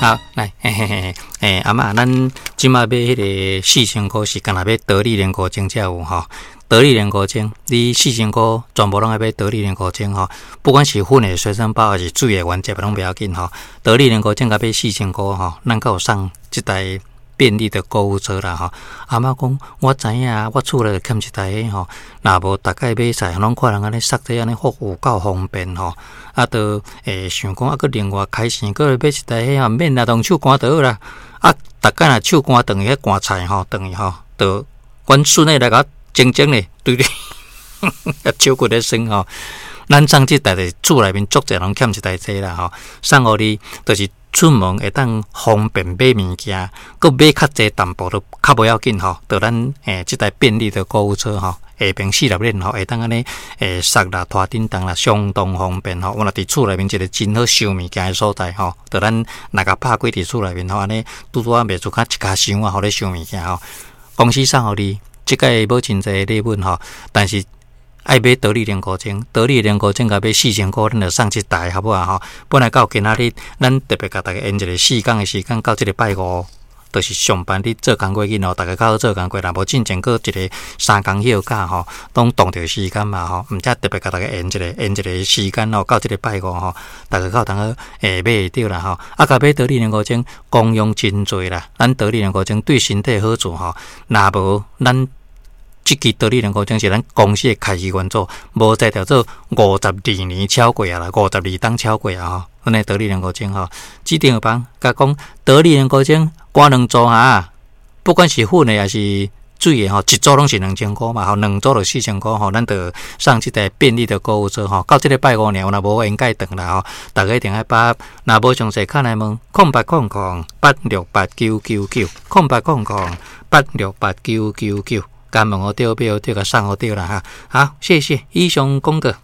好，來，嘿嘿嘿，欸，阿嬤，咱這馬買彼个四千箍是干焦買得力凝固精才有吼，得力凝固精，你四千箍全部攏愛買得力凝固精吼，不管是粉的隨身包，抑是水的原則攏袂要緊吼。得力凝固精共買四千箍吼，咱閣有送這台便利的購物車啦吼。阿嬤講，我知影，我厝內欠一台彼吼，若無逐擺買菜，攏看人按呢捒這按呢，好有夠方便吼。啊，就會想講啊，閣另外開錢，閣買一台彼吼，免啦，用手搬就好啦。啊，逐擺若手搬轉去彼搬菜吼，轉去吼，就阮孫仔來共我整整咧，對對，手骨咧酸吼。咱送這台就是厝內面足濟人欠一台這啦吼，送予你，就是出門會當方便買物件，閣買較濟淡薄都較無要緊吼。就咱這台便利的購物車吼，下爿四粒鏈吼，會當按呢捒啦、拖叮當啦，相當方便吼。我若佇厝內面一個真好收物件的所在吼，就咱若共拍開佇厝內面吼，按呢拄拄仔袂出較一跤箱啊，予你收物件吼。公司送予你，這擺無真濟禮物吼，但是愛買得力凝固精，得力凝固精共買四千箍，咱就送一台，好無啊吼？本來到今仔日，咱特別共大家延一个4工的時間，到這个拜五，就是上班日做工課囡吼，逐家較好做工課，若無進前閣一个3工休假吼，攏擋著時間嘛吼，毋才特別共大家延一个延一个時間吼，到這个拜五吼，逐家較有通好買會著啦吼。啊，共買得力凝固精功用真濟啦，咱得力凝固精對身體好處吼，若無咱。這支得力凝固精是咱公司的開始原做，無才調做52年超過啊啦，52冬超過啊吼。阮的得力凝固精吼，指定房共講得力凝固精搬兩組哈，不管是粉的抑是水的吼，一組攏是2000箍嘛吼，兩組就4000箍吼，咱就送這台便利的購物車吼。到這个拜五爾，若無緣蓋斷啦吼，逐家一定愛把握，若無詳細敲來問08008689990800868999。共問予著，買予著，共送予著啦哈。好，謝謝，以上廣告。